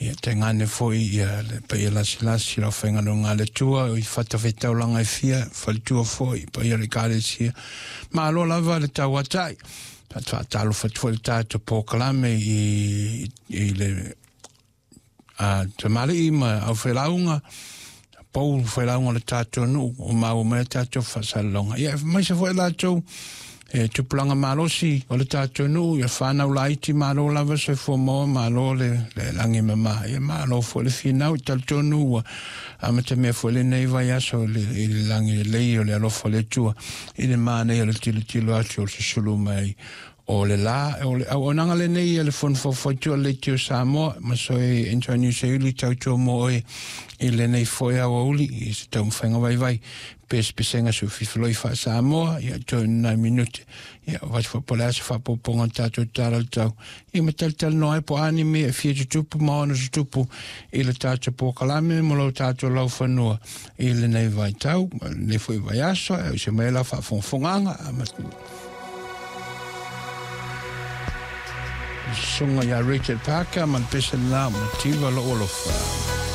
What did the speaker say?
Ia tainane foi ia le paia lasilasi le aufaigaluega a le Atua i fatafaitaulaga e fia, faletua foi, paia o le Ekalesia. Malo lava le tauatai. Faatalofa atu foi le tatou polokalame i le tamalii ma aufailauga, pou failauga o le tatou nuu o maua mai le tatou faasalalauga. Ia aemaise foi latou e tupulaga malosi o le tatou nuu, ia whanau laiti, malo lava soifua maua, malo le lagi mama, ia malo foi le finau i talitonu ua amatamea foi lenei vaiaso i le lagi lelei o le alofa o le Atua i le manaia o le tilotilo atu o le susulu mai o le la o le auaunaga lenei a le Fono Faufautua a le Leitio o Samoa ma soe Antonio Seiuli tautua mo oe i lenei foi aoauli i se taumafaiga vaivai pesepesega sufifiloi faa-Samoa ia toe nai minute ia vasi foi po o le a se faapopoga o le tatou tala o le tau ia ma talatalanoa ai po o a ni mea e fia tutupu ma ona tutupu i le tatou polokalame ma lo tatou laufanua i lenei vaitau lenei foi vaiaso e se mai la faafogafogaaga Susuga ia Richard Parker ma le pese lena o Mativa Lou Alofa.